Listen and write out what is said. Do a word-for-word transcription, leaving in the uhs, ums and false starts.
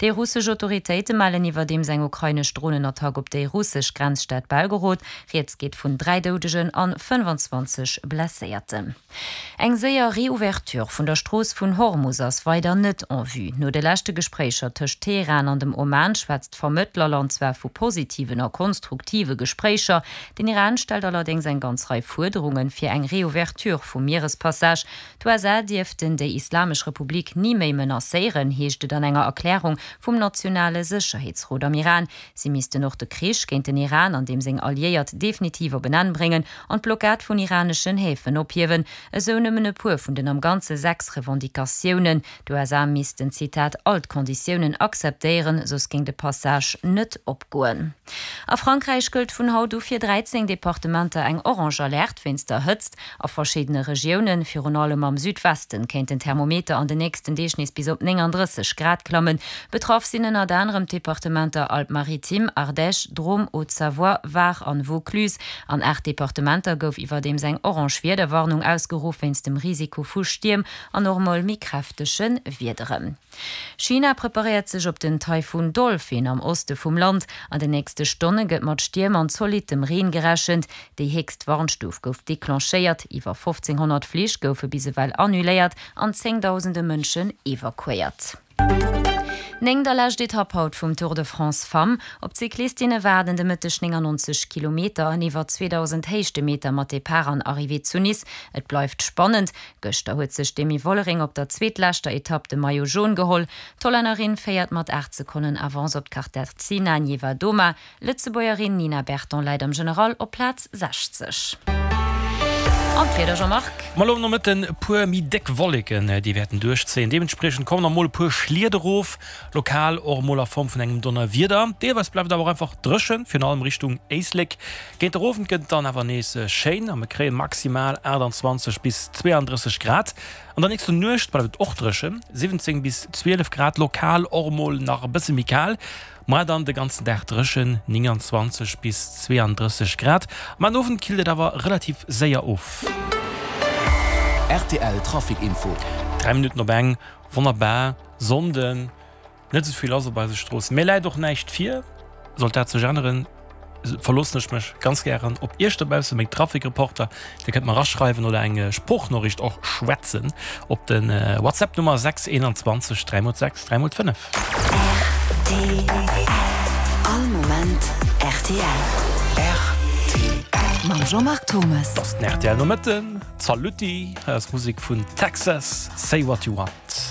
Déi russesch Autoritéite mellen iwwerdeems eng ukrainesch Dronenattack op déi russesch Grenzstad Belgorod. Rieds geet vun dräi Doudegen an fënnfanzwanzeg Blesséierten. Eng séier Reouverture vun der Strooss vun Hormus ass weider net en vue. No de leschte Gespréicher tëscht Teheran an dem Oman schwätzt d'Vermëttlerland zwar vu positiven a konstruktive Gespréicher. Den Iran stellt allerdéngs eng ganz Rei Fuerderunge fir eng Reouverture vum Mierespassage. D'USA dierften déi Islamesch Republik ni méi menacéieren, heescht et an enger Erklärung vum nationale Sécherheetsrot am Iran. Si missten och de Krich géint den Iran an deem seng Alliéiert definitiv op en Enn bréngen an d'Blockad vun iraneschen Häfen ophiewen. Esou nëmmen e puer vun den am Ganze sechs Revendicatiounen. D'USA missten, Zitat, all d'Konditiounen akzeptéieren, soss géing de Passage net opgoen. A Frankräich gëllt vun haut u fir dräizéng Departementer eng orange Alerte wéinst der Hëtzt. A verschiddene Regiounen, virun allem am Südwesten, kéint den Thermometer an den nächsten Deeg nees bis op nénganddrësseg Grad klammen. Betraff sinn ënnert anerem d'Departementer Alpes-Maritimes, Ardèche, Drôme, Haute-Savoie, Var an Vaucluse. An aacht Departementer gouf iwwerdeems eng orange Wiederwarnung ausgeruff wéinst dem Risiko vu Stierm an och emol méi kräftege Wiederen. China preparéiert sech op den Taifun Dolphin am Oste vum Land. An den nächste Stonne gëtt mat Stierm an zolittem Reen gerechent. Déi héchst Warnstuf gouf declenchéiert, iwwer fofzénghonnert Flich goufe bis ewell annuléiert an zéngdausende Mënschen evakuéiert. Néngt a lescht Etapp haut vum Tour de France Femmes. Op d'Cyclistinne waarden de Mëtteg néngannonzeg Kilometer an iwwer zweedausend Héichtemeter mat Depart an Arrivée zu Nice. Et bleift spannend. Gëschter huet sech d'Demi Vollering op der zweetleschter Etapp de Maillot Jaune geholl. D'Hollännerin féiert mat aacht Sekonnen Avance op d'Katarzyna Niewiadoma. D'Lëtzebuergerin Nina Berton läit am General op Plaz sechzeg. An d'Wieder, Jean-Marc? Ma lo am Nomëtten e puer méi déck Wolleken, déi wäerten duerchzéien. Deementspriechend kommen och mol e puer Schliet erof, lokal och emol a Form vun engem Donnerwieder. Deelweis bleift et awer och einfach dréchen, virun allem Richtung Éislek. Géint der Owend gëtt et dann awer nees schéin a mir kréie maximal aachtanzwanzeg bis zweeandrësseg Grad. An der nächster Nuecht bleift et och dréchen, siwwenzéng bis zwielef Grad, lokal och emol nach e bësse méi kal. Moar dann de ganzen Dag dréchen, nénganzwanzeg bis zweeandrësseg Grad. Ma den Owend killt et awer relativ séier of. Rtl Trafic Info. Dräi Minutten op eng, wonnerbar, Sonnden, net esou vill lass op eise Stroossen. Mir läit och näischt vir. Sollt dat sech änneren, verloossen ech mech ganz gären op iech dobaussen, meng Trafikreporter. Dir kënnt mer eraschreiwen oder eng Sproochnoriicht och schwätzen op de WhatsApp Nummer sechs einundzwanzeg dräi mol sechs dräi mol fënnef. Rtl, All Moment rtl. Rtl. Mam Jean-Marc Thomes. Et ass den rtl Nomëtten. Zalutty, hei ass Musek vun Texas, Say What You Want.